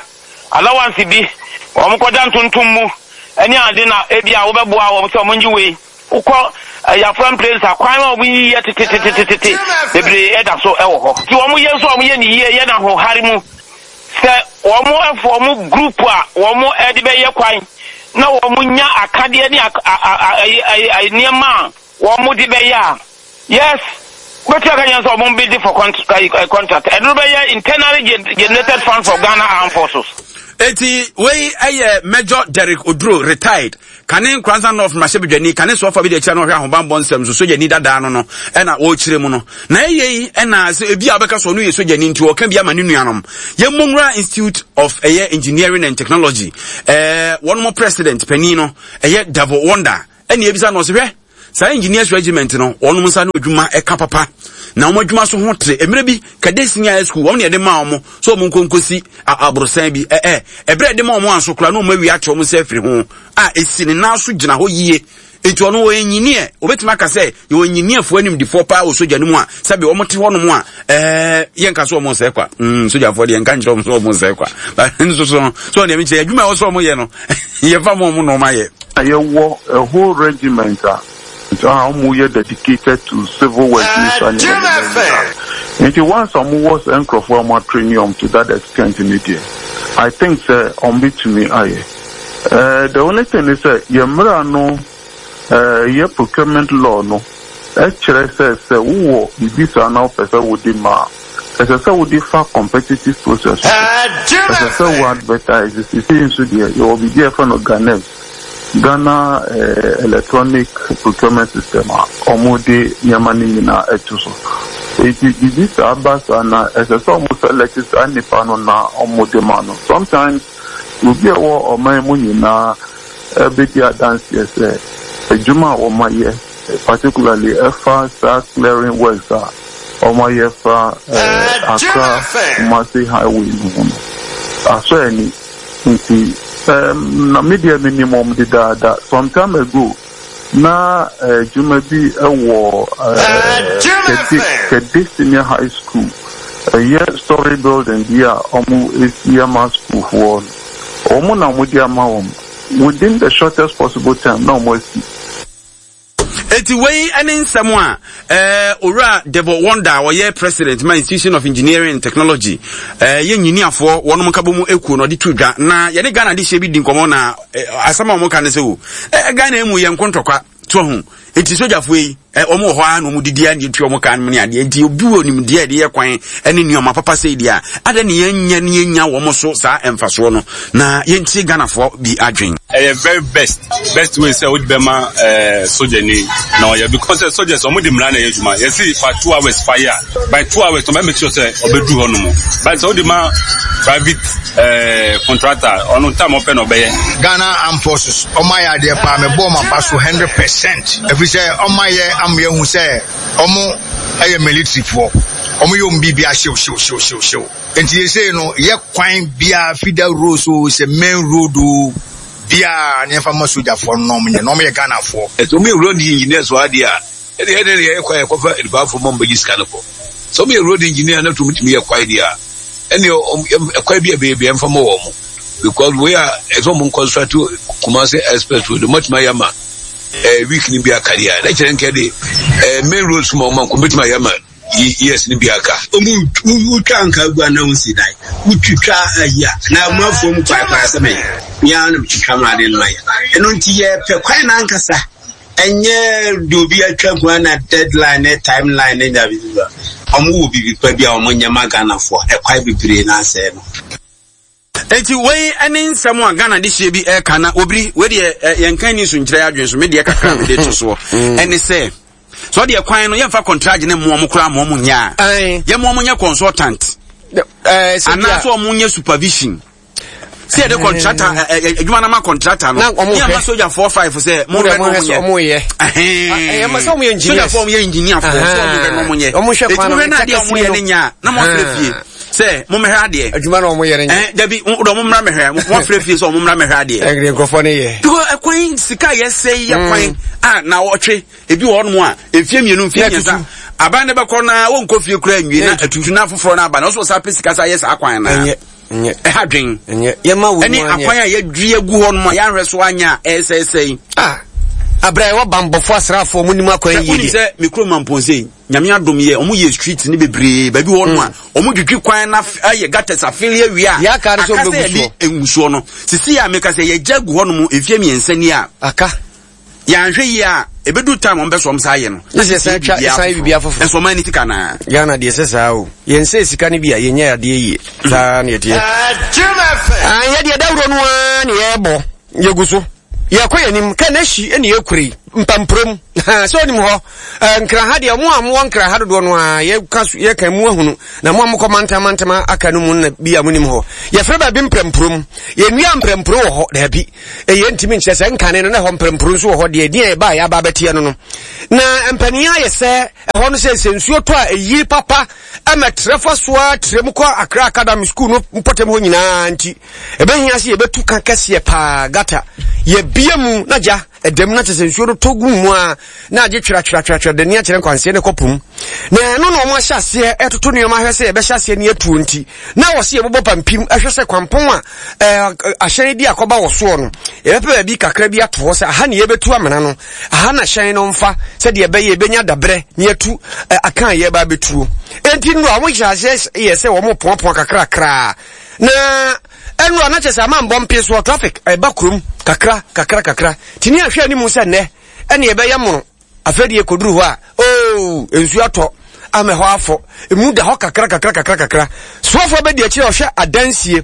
allowance bi, wɔn kɔda ntontom mu ne ade na ebi a wobɛboa wɔn sɛ wɔn ngye wei. Wokɔ Yafran plains a, kwan a wɔn yiyi yɛ tetetetete bebree ɛda so ɛwɔ hɔ. Nti wɔn yɛ nso a wɔn yɛ ne yie yɛ na ahohare mu sɛ wɔn ɛfɔ wɔn group a wɔn ɛde bɛyɛ kwan na wɔn nya akadeɛ ne nneɛma a wɔn de bɛyɛ a, yes, wobɛtumi aka kyerɛ sɛ wɔn bid for contract. Ɛno bɛyɛ internally generated fund for Ghana Armed Forces. Eti wei ɛyɛ Major Derek Oduro, retired, kane Nkoranza North mmarahyɛbadwani, kane soafoɔ bi de akyire na ɔhwɛ ahobanbɔ nsɛm so, sogyani dadaa no no ɛna wɔrekyerɛ mu no. Na ɛyɛ yi ɛna sɛ ebi a wɔbɛka so ɔno yɛ sogyani nti ɔka bi ama ne nuanom. Yɛn Mmɔnwura Institute of ɛyɛ Engineering and Technology, ɛɛ wɔn mo president panin no ɛyɛ Davo Wonder, ɛna ebisa no ɔsɛ hwɛ saa engineers regiment no wɔn nsa no adwuma ɛka papa na wɔn adwuma so ho tere. Mmerɛ bi Kade Senior High School wɔn na yɛde maa wɔn so wɔn nkonkosi aborosan bi ɛɛ ɛberɛ yɛde maa wɔn anso koraa na wɔn awi akyɛ wɔn nsa afiri ho a esi ne nan so gyina hɔ yie. Nti ɔno wɔyɛ engineer, obetumi aka sɛ yɛwɔ engineerfoɔ animdifoɔ paa wɔ sogya no mu a sɛbi wɔn te hɔnom a ɛɛ yɛnka so wɔn nsɛe kwa. mm sogyafoɔ deɛ nka nkyerɛ wɔn sɛ wɔn nsɛe kwa, but nso so no so wɔn deɛ mekyerɛ adwuma a ɛwɔ sɛ wɔn yɛ no yɛfa mo wɔn na wɔn ayɛ. Yɛwɔ a whole regiment a a wɔn yɛ dedicated to civil work ne saa nneɛma nneɛma nyinaa. Nti once a wɔwɔ saa nkurɔfoɔ a wɔn atrain wɔn to that extent ne deɛ, I think sɛ wɔn betumi ayɛ. Uh, the only thing is sɛ yɛn mmara no, uh, yɛ procurement law no ɛkyerɛ sɛ sɛ wowɔ biribi saa na wopɛ sɛ wode ma a, ɛsɛ sɛ wode fa competitive process so, ɛsɛ sɛ wo advertise. Sisi nso deɛ yɛwɔ biribi a yɛfrɛ no GhAnePS, Ghana eh, Electronic Procurement System, a wɔde nneɛma no nyinaa ɛto so. Eti biribi saa ba saa na ɛsɛ sɛ wɔn select saa nipa no na wɔde ma no. Sometimes obi a ɛwɔ ɔman mu nyinaa ɛbɛdi adanseɛ sɛ adwuma a wɔn ayɛ, particularly ɛfa saa clearing works a wɔn ayɛ fa ɛɛ Accra Kumasi highway no ho no asɔ ani. Nti ɛɛm na me deɛ menim wɔn dedaada. Some time ago na adwuma bi ɛwɔ ɛɛ Kɛde Kɛde Senior High School, ɛyɛ story building bi a wɔn esi ama schoolfoɔ no, wɔn na wɔn de ama wɔn within the shortest possible time na wɔn asi. Eti wei ne nsɛm a ɛɛ Owura Devo Wonder a ɔyɛ president ma Institution of Engineering and Technology, ɛɛ yɛ nyiniafoɔ wɔn nkabɔ mu ekuo na ɔde to dwa. Na yɛne Ghana de hyɛ bi di nkɔmɔ na asɛm a wɔn ka ne sɛ o ɛɛ Ghana mu yɛ nkontɔkwa to ho. Eti sogyafoɔ yi ɛ wɔn wɔ hɔ a na wɔn didi a na etua wɔn ka no ne adeɛ. Nti obi wɔ nimdeɛ a yɛde yɛ kwan ne nneɛma papa sɛ deɛ a ada ne yɛn nya ne yɛn nya wɔn so saa mfasoɔ no na yɛntie Ghanafoɔ bi adwen. Ɛyɛ very best best way sɛ wode bɛma ɛɛ sogyani na ɔyɛ, because sɛ soldiers ɔmo de mmara na ɛyɛ adwuma. Yɛsi fa two hours fa yɛ a, by two hours ɔmo make sure sɛ ɔbɛduru hɔ nom. But sɛ wode ma private ɛɛ contractor, ɔno time ɔpɛ na ɔbɛyɛ. Ghana Armed Forces ɔmo ayɛ adeɛ paa, mebɔ ɔmo aba so hundred percent, ɛfiri sɛ ɔmo ayɛ ama yɛhu sɛ ɔmo ɛyɛ militaryfoɔ, ɔmo yɛ ɔmo biribi ahyew hyew hyew hyew hyew. Nti yɛsei no yɛ kwan biara, feeder road so sɛ main road o biara ne yɛmfa ma sogyafoɔ no na ɔmo nyɛ, na ɔmo yɛ Ghanafoɔ. Ɛsɛ ɔmo yɛ road engineers wɔ adeɛ a ɛde ɛde de yɛ kwan yɛkɔfa nipaafo ma ɔmo bɛgye sika no kɔ. Sɛ ɔmo yɛ road engineer na tum tumi yɛ kwan deɛ a, ɛne ɛkwan bi a bɛyɛ bi ɛmfa ma wɔn mo, because wei a ɛsɛ ɔmo construct Kumasi express road ɔmo atumi ayɛ ama ɛɛ week ni bi aka deɛ a, na kyerɛ nkɛ de ɛɛ main road so ma ɔmo anko bɛtumi ayɛ ama years ni bi aka. Ɔmu wotwa nka gu a na wosi dan wotwitwa ayi a na amuafoɔ mu kwaekwae sɛ mɛyɛ mea na metwitwa ma ade no mayɛ. Ɛno nti yɛpɛ kwan no ankasa, ɛnyɛ de obi atwa nko na deadline ne timeline ne nya bibi. Ɔmo wɔ bibi pa bi a ɔmo nyɛ ma Ghanafoɔ, ɛkwan bebree na asɛe no. Eti wei ne nsɛm a Ghana de hyɛ bi ɛka na obiri wei deɛ yɛnka ni so nkyerɛ adwene so. Me deɛ kakra mede to soɔ ɛne sɛ sɛ ɔdeɛ kwan no yɛmfa contract ne mmoa mo koraa ma ɔmo nyɛ a, yɛmmoa mo nyɛ consultant anaasɛ ɔmo nyɛ supervision, sɛ yɛde contractor adwuma no ma contractor no ne ama sogyafoɔ five sɛ mohwɛ no ɔmo yɛ sogyafoɔ ɔmo yɛ engineerfoɔ sɛ ɔmo hwɛ no ɔmo nyɛ. Eti mohwɛ no adeɛ ɔmo yɛ ne nyɛ a, na mo afrɛ fie sɛ mommɛhwɛ adeɛ. Adwuma na ɔmo yɛ ne nyɛ. Ɛn dabi dɛ ɔmo mmra mɛhwɛ, mo afrɛ fie sɛ ɔmo mmra mɛhwɛ adeɛ. Ɛnde nkurɔfoɔ ne yɛ. Because ɛkwan sika yɛ sɛ yɛ kwan a na ɔtwe ebi wɔ hɔnom a mfie mmienu, mfie mmiɛnsa, aban ne bɛkɔ na wɔnkɔ fie kura nwie na atutu na foforɔ no aba na ɔsɔ saa pɛ sika sa yɛ saa kwan na ɛha dwen ɛne akwan a yɛdua gu hɔ nom a yɛahwɛ so anya a ɛsɛesɛe. Ah, abira ɛwɔ bambɔfo asraafoɔ mu nim akwan yie deɛ. Sɛ me kurom Mampɔnse, Nyame adom yɛ ɔmo yɛ street ne bebree baabi hɔ nom a ɔmo dwidwi kwan na ayɛ gutters afili awie a aka sɛ yɛde ngusoɔ no sisi a meka sɛ yɛgya gu hɔ nom mfie mmiɛnsa ni a aka. Yɛanhwɛ yie a, ɛbɛdu time wɔn bɛ so wɔn saa yɛ no. Ne sɛ san twa san yɛ biribi afoforɔ. Nso ɔman ni sika naa. Ghana deɛ sɛ saa o. Yɛn sɛ sika no bi a yɛnyɛ adeɛ yie. Saa na yɛteɛ. Ah, yɛ deɛ dawuro no ara na yɛrebɔ. Yɛgu so. Yɛkɔ yɛn anim. Kɛ n'ahyi na yɛkura yi. Mpampurom. Sɛ onim hɔ. Nkraha deɛ mo a mowɔ nkraha dodoɔ no ara yɛka yɛka mu ahunu. Na mo a mokɔ mantam mantam aka no mu na bi a monim hɔ. Yɛfrɛ baabi mprɛmpurom. Yɛnnua mprɛmpuro wɔ hɔ. Daabi. Ɛyɛ ntumi nkyerɛ sɛ nkane no na ɛhɔ mprɛmpuro nso wɔ hɔ deɛ ɛdin a ɛbaa yɛaba abɛteɛ no no. Na mpanin ayɛ sɛ ɛhɔ no sɛ sɛ nsuo tɔ a ɛyiri papa ɛma trɛ fa so ara trɛ mu kɔ Accra Academy School no mpɔtam hɔ nyinaa nti ɛbɛhia sɛ yɛbɛtu ka kɛseɛ paa gata yɛbia mu na gya ɛdam na kyɛ sɛ nsuo no tɔ gu mu a na agye twerɛtwerɛtwerɛ de ne akyerɛ nkwanseɛ ne kɔpom na ɛno na wɔn ahyɛ aseɛ ɛtoto nneɛma ahwɛ sɛ yɛbɛhyɛ aseɛ ne atuo nti na wɔ sɛ yɛbobɔ pampim ɛhwɛ sɛ kwampɔn a ɛɛ ahyɛn di akɔba wɔ soɔ no yɛbɛpɛ baabi kakra bi ato hɔ sɛ aha ne yɛbɛtu amena no aha na hyɛn no mfa sɛdeɛ ɛbɛyɛ yɛbɛnya dabrɛ ne yɛtu aka a yɛba abɛtuo enti nnuro a wɔhyɛ aseɛ yɛ sɛ wɔn poapoa kakrakraa na ɛnura na kyɛ sɛ ama mbɔ mpe soɔ traffic ɛba kurom kakra kakra kakra tini ahwɛ anim sɛ nnɛ ɛne ɛbɛyɛ mono afei deɛ kɔduru hɔ a oo nsuo atɔ ama hɔ afɔ emu da hɔ kakra kakra kakra kakra soafoɔ bɛdi akyire ɔhwɛ adansie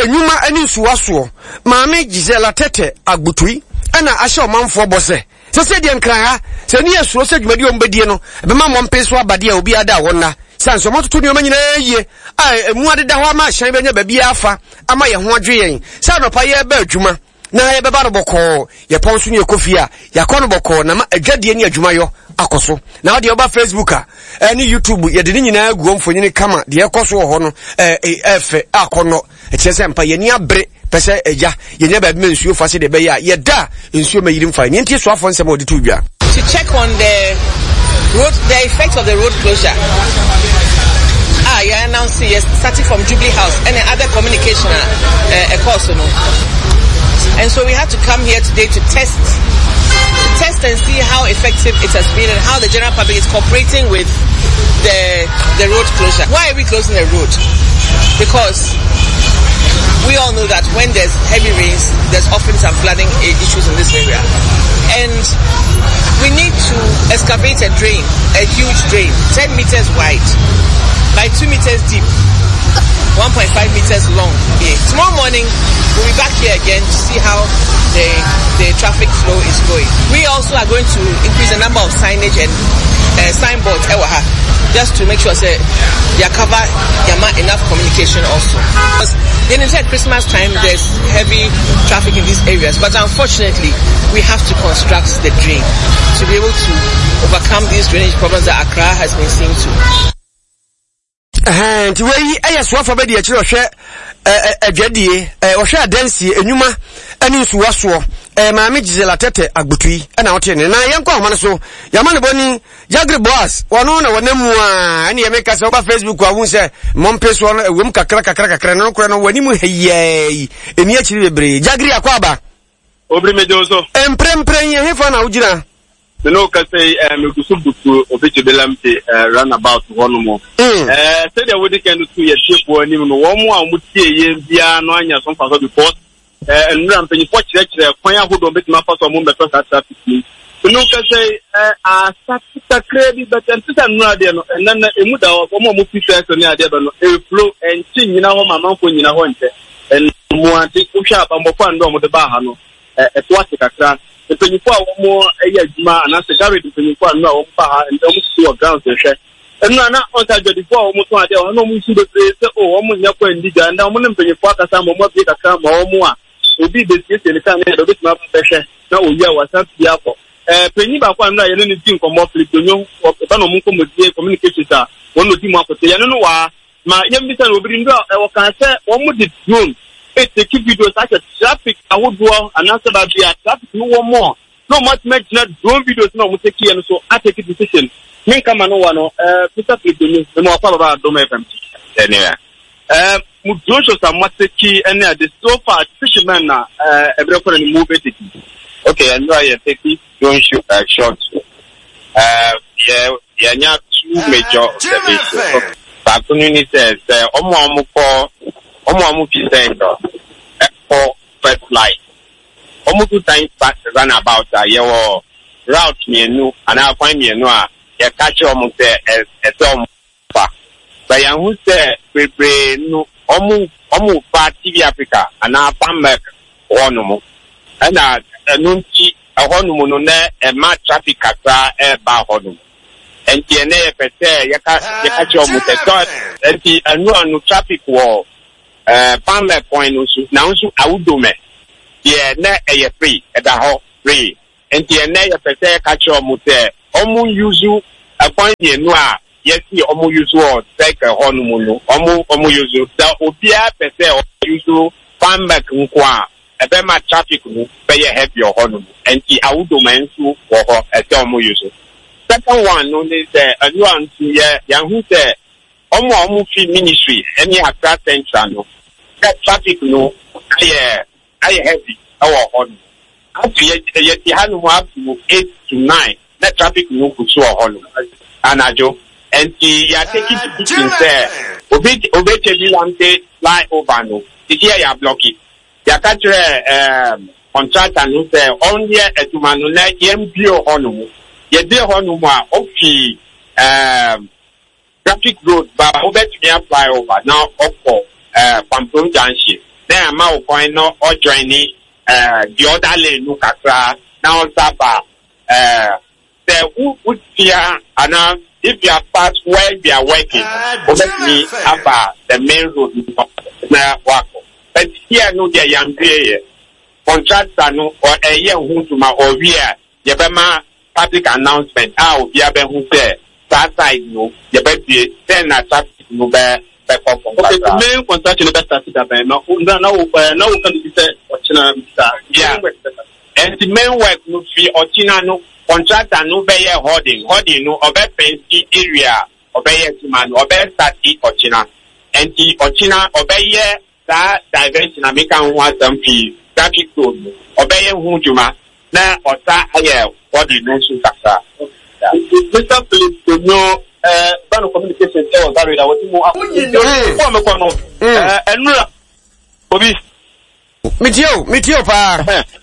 enwuma ne nsuwa soɔ maame Gisela Tete Agbotui ɛna ahyɛ ɔmanfoɔ bɔ sɛ sɛ sɛ deɛ nkran ha sɛ ne yɛ suro sɛ dwumadi a wɔbɛdie no ɛbɛma mmɔmpe so aba deɛ obiara da wɔn nna sɛ nso wɔatoto nneɛma nyinaa yie a emu adeda hɔ ama ahyɛn bɛnya baabi afa ama yɛn ho adwe yɛn sɛ anɔpa yɛreba adwuma na yɛbɛba no bɔkɔɔ yɛpɔn so ne yɛkɔ fie a yɛakɔ no bɔkɔɔ na ma adwadie ne adwumayɔ akɔ so na wodeɛ woba Facebook a ɛne YouTube yɛde ne nyinaa agu hɔ mfonyini kama deɛ ɛkɔ so wɔ hɔ no ɛfɛ akɔnnɔ ɛkyerɛ sɛ mpa yɛni abere pɛ sɛ agya yɛnya baabi ma nsuo fa sɛdeɛ ɛbɛyɛ a yɛda a nsuo ma yiri mfa ne nti soafoɔ nsɛm a wɔde to dwa. To check on the road, the effect of the road closure. Ah, yeah, announce yes, starting from Jubilee House and the other communication uh, uh, course, you know. And so we had to come here today to test, to test and see how effective it has been and how the general public is cooperating with the the road closure. Why are we closing the road? Because we all know that when there's heavy rains, there's often some flooding issues in this area. And we need to excavate a drain, a huge drain, ten meters wide, by two meters deep, one point five meters long. Yeah. Tomorrow morning, we'll be back here again to see how the, the traffic flow is going. We also are going to increase the number of signage and uh, signboards, just to make sure say they cover enough communication also. Because then inside Christmas time, there's heavy traffic in these areas. But unfortunately, we have to construct the drain to be able to overcome these drainage problems that Accra has been seeing to. Nti wei ɛyɛ soafoɔ bɛdi akyire ɔhwɛ adwadie ɔhwɛ adansie enwuma ɛne nsuwa soɔ maame Gisela Tete Agbotui ɛna ɔte ne na yɛnkɔ ahoma no so yɛama ne bɔni Jagri Boas wɔno na wɔnam mu a ɛne yɛmeka sɛ woba Facebook a wohu sɛ mmɔmpe soɔ no ɛwom kakra kakra kakra no nokorɛ no w'anim hɛyɛi ɛni akyiri bebree. Jagri akɔ aba obiri megye so mprempren yɛ hefa na wogyina? Me no ka say eh me gusu butu obi jibelamte eh runabout hɔ no mo. Eh say there wodi kan to ye tiefo anim no wo mo a mo tie ye bia no anya so mfa so because eh nnura mpanyinfo kyerɛkyerɛ kwan ahodo betima fa so mo mbeto sa traffic ni. Me no ka say eh asakita kredi but ntisa nnura de no enna na emu da wo mo mo fi so ne ade ba no e flow enchi nyina hɔ mamanfo nyina hɔ nte. En mo ante wo hwa abambofo ando mo de ba ha no eh eto ate kakra. Mpanyinfo a wɔn yɛ adwuma anaasɛ garage mpanyinfo a nnura wɔn ba ha ndɛ wɔn sisi wɔ grounds hwɛ nnura na ɔnsa adwadifo a wɔn tɔn adeɛ wɔn na wɔn nsu bebree sɛ o wɔn nyɛ kɔ ndi dwa ndɛ wɔn ne mpanyinfo akasa ma wɔn abie kakra ma wɔn a obi besiesie ne kaa ne yɛde obetumi aba bɛhwɛ na oyi a wasan pii akɔ ɛɛ panyin baako a nnura yɛne ne di nkɔmɔ Philip Donyo ɔba na wɔn nkɔmɔdie communications a wɔn na odi mu akɔte yɛne no waa ma yɛn bisa na obi nnura ɛwɔ kan sɛ wɔn de drone eteki videos ahyɛ traffic ahodoɔ anaasɛ baabi a traffic no wɔ mɔ na ɔmo atumi agyina drone videos na ɔmo teki yɛ no so ateki decision ne nkama no wa no ɛɛ Mister Philip Donyo ɛmu akɔ ababa Adom F M ɛnea ɛɛ mo drone shows a mo ateki ɛne ade so far decision man na ɛɛ ɛbrɛ kɔ na ne mu bɛ teki. Okay, ɛnura yɛ teki drone show uh, shot ɛɛ yɛ yɛnya two major observations. Baako no ni sɛ sɛ ɔmo a ɔmo kɔ ɔmo a ɔmo fi sɛn no ɛkɔ first light Wɔn du Science Park runabout a, yɛwɔ route mmienu anaa kwan mmienu a yɛka kyerɛ wɔn sɛ ɛsɛ wɔn fa. But yɛahu sɛ bebree no wɔn wɔn fa T V Africa anaa Pan Milk hɔnom. Ɛna ɛno nti ɛhɔnom no na ɛma traffic kakra ɛreba hɔnom. Nti ɛnɛ yɛpɛ sɛ yɛka yɛka kyerɛ wɔn sɛ tɔ nti ɛno ano traffic wɔ ɛɛ Pan Milk kwan no so, nanso Awudome deɛ na ɛyɛ free, ɛda hɔ free. Nti ɛnɛ yɛpɛ sɛ yɛka kyerɛ wɔn sɛ wɔn use ɛkwan mmienu a yɛsi wɔn use wɔ circle hɔnom no, wɔn wɔn use. Sɛ obiara pɛ sɛ ɔ use Pan Milk nko a, ɛbɛma traffic no bɛyɛ heavy wɔ hɔnom. Nti Awudome nso wɔ hɔ, ɛsɛ wɔn use. Second one no ne sɛ ɛno a nso yɛ yɛahu sɛ wɔn a wɔn fi Ministry ɛne Accra Central no sɛ traffic no ayɛ ayɛ heavy ɛwɔ hɔ no. Afei yɛ yɛte hanom up to eight to nine na traffic no gu so wɔ hɔ no anadwo. Nti yɛa take decision sɛ obi Obetsebi Lamptey fly over no titi yɛ yɛa block. Yɛaka kyerɛ ɛɛm contractor no sɛ ɔnyɛ adwuma no na yɛmbue hɔ nom. Yɛbue hɔ nom a, ofi ɛɛm traffic road ba, wobɛtumi a fly over na ɔkɔ ɛɛ Pamprom Junction na yɛama wo kwan na ɔ join ɛɛ the other lane no kakra na ɔsa ba. Ɛɛ sɛ wo wotia anaa if you are past where we are working, wobɛtumi aba the main road no na wakɔ. But here no deɛ, yɛambue yɛ. Contractor no ɔ ɛyɛ ho dwuma, ɔwie a yɛbɛma public announcement a obiara bɛhu sɛ saa side no yɛbɛbue sɛ na traffic no bɛ bɛkɔ fam Okay, kakra. Main construction bɛ start da bɛn na na na wo ɛɛ na wo ka bi sɛ ɔkyena bi saa? Yeah. Nti main work no fi ɔkyena no, contractor no bɛyɛ hoarding hoarding no, ɔbɛ fence area a ɔbɛyɛ adwuma no, ɔbɛ start ɔkyena. Nti ɔkyena ɔbɛyɛ saa diversion a meka ho asɛm fi traffic road no, ɔbɛyɛ ho dwuma na ɔsa ayɛ hoarding no nso kakra. Mister Philip Donyo, ɛɛ Bano Communications ɛwɔ Zarida wɔte mu akɔ kɔ mekɔ no ɛɛ ɛnura obi. Metie o, metie o paa.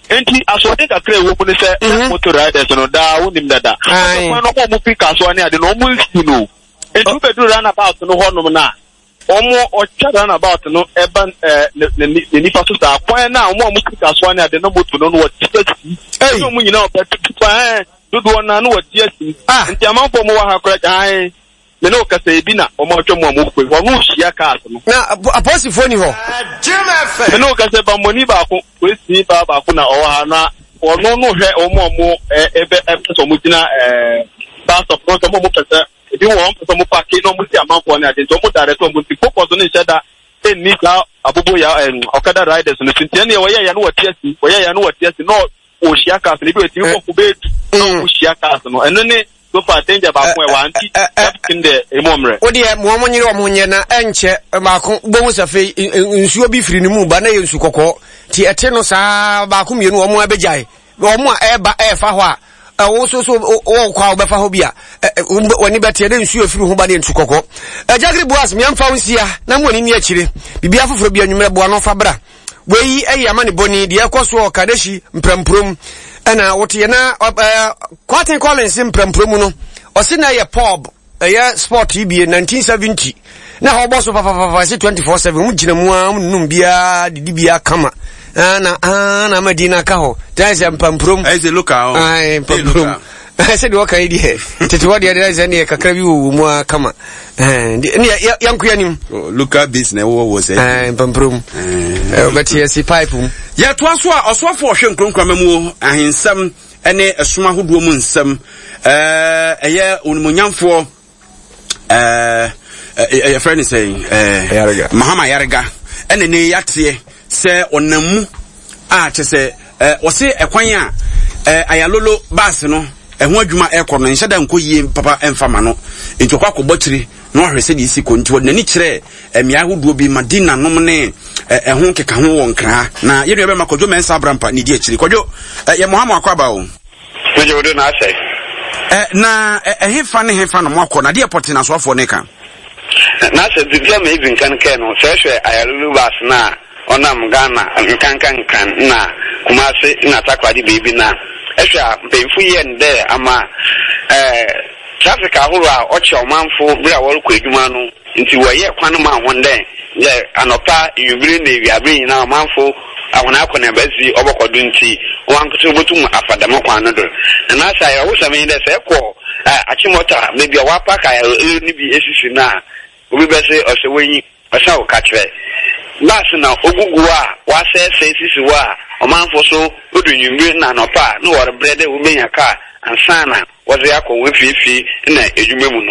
Nti asoɔden kakra ɛwɔ mu ne sɛ motor riders no daa wonim dada kwan no, ɔmo fi Kasoa ne ade no, ɔmo nsi no. Nti wobɛduru runabout no hɔnom no a, ɔmo ɔtwa runabout no ɛba ɛɛ ne ne ne nifa so saa kwan no a, ɔmo a ɔmo fi Kasoa ne ade no, moto no no wɔte asi ɛna ɔmo nyinaa ɔbɛtutu kwan ɛɛ dodoɔ naa no wɔte asi. Nti amanfoɔ mo wɔ ha koraa ae, me ne wo kasa ebi na ɔmo atwa mu a ɔmo kɔ ɔno hyia cars no. Na apolisifoɔ ni hɔ? Me ne wo kasa, bambɔni baako, polisi baa baako na ɔwɔ ha na ɔno no hwɛ ɔmo a ɔmo ɛ ɛbɛ ɛpɛ sɛ ɔmo gyina ɛɛ bus stop no, sɛ ɔmo a ɔmo pɛ sɛ ebi wɔ ɔmo pɛ sɛ ɔmo park na ɔmo si amanfoɔ ne ade. Nti ɔmo direct ɔmo, nti focus no nhyɛ da ɛnni saa abobo ya ɛn ɔkada riders no so. Nti ɛnneɛ wɔyɛ ya no wɔte asi, wɔyɛ ya no wɔte asi na ɔhyia cars no, ebi wɔ etimi kɔkɔ bɛɛ du na ɔmo hyia cars no. Ɛno ne so far danger baako ɛwɔ, nti traffic deɛ emu ɔmmerɛ. O deɛ, mo ɔmo nyere ɔmo nyɛ na ɛnkyɛ baako bohu sɛ afei nsuo bi firi ne mu ba na yɛ nsu kɔkɔɔ, nti ɛte no saa baako mmienu ɔmo abɛgyae. Ɔmo a ɛɛba ɛɛfa hɔ a, ɛwo so so wɔkɔ a wobɛfa hɔ bi a w'ani bɛteɛ ne nsuo efiri ho ba ne nsu kɔkɔɔ. Ɛgyagere Boas mmiɛnfa wo nsia na mo ani ni akyire biribi afoforɔ bi anwummerɛ boa no fa bra. Wei ɛyɛ ama ne bɔni deɛ ɛkɔ so wɔ Kaneshie Mprɛmpurom ɛna woteɛ na ɛɛ Kwaten Collins Mprɛmpurom no, ɔsi na ɛyɛ pub, ɛyɛ sport yi bie nineteen seventy na hɔ bɔ so papapapa, ɛsɛ twenty-four seven wɔn gyina mu a wɔn num biara didi biara kama na na ama di na aka hɔ tɛn sɛ Mpampurom. Ɛyɛ sɛ local. Ɛɛ Mpampurom sɛ deɛ ɔka yi deɛ tete hɔ deɛ deɛ sɛ neɛ kakra bi wɔ wɔ mu a kama ne yɛnko anim. Local base na ɛwɔ wɔ sɛ. Ɛɛ Mpampurom bɛte yɛsi pipe mu. Yɛtoa so a, ɔsoafoɔ ɔhwɛ nkuronkurama mu ahensɛm ne ɛsom ahodoɔ mu nsɛm, ɛyɛ onimonyamfoɔ ɛɛ yɛfrɛ ne sɛn, Mahama Ayariga, ɛna ne yɛateɛ sɛ ɔnam mu a kyɛ sɛ wɔse ɛkwan a Ayalolo baase no ɛho adwuma ɛkɔ no nhyɛ da nkɔ yie papa ɛmfa ma no, nti ɔkɔ akɔbɔ akyire na wahwɛ sɛdeɛ ɛsi kɔ. Nti wɔde n'ani kyerɛ mmeae ahodoɔ bi, Madina nom ne ɛho keka ho wɔ Nkraa. Na yɛn nua bɛma Kwadwo Mɛnsa Abrampa ne di akyiri. Kwadwo, yɛ mo ha mo akɔ aba o. Megye wo do na asɛ. Na ɛhefa ne hefa na mo akɔ na adeɛ pɔte na asoafoɔ ne ka? Na sɛ dza ma edzi nkan kɛɛ no, sɛ ehwɛ Ayalolo bus no a ɔnam Ghana nkanka Nkran na Kumasi na Takoradi beebi no a, ehwɛ a mpanyimfo yɛɛ no dɛ ama ɛɛ traffic ahorow a ɔkyɛ ɔmanfo ber a wɔrokɔ edwuma no ntsi wɔyɛɛ kwan maa hɔn dɛ dɛ anɔpa, ewimbir na ewiaber nyina ɔmanfo hɔn akɔneaba dzi ɔbɔkɔ do ntsi hɔnankasa wobotum afa dɛm kwan no do. Na n'ase ayerɛhosɛm nye dɛ sɛ ekɔ Achimota beebi a wɔapark ayar no bi esisi no a, obi bɛse ɔsɛ w'enyi ɔsan wo kakyerɛ. Bus na ogugu hɔ a wɔasɛɛsɛɛ sisi hɔ a ɔmanfo so odu ewimbir na anɔpa a na wɔrebrɛ dɛ wobenya kaar ansaana wɔdze akɔ hɔn efiefie na edwuma mu no.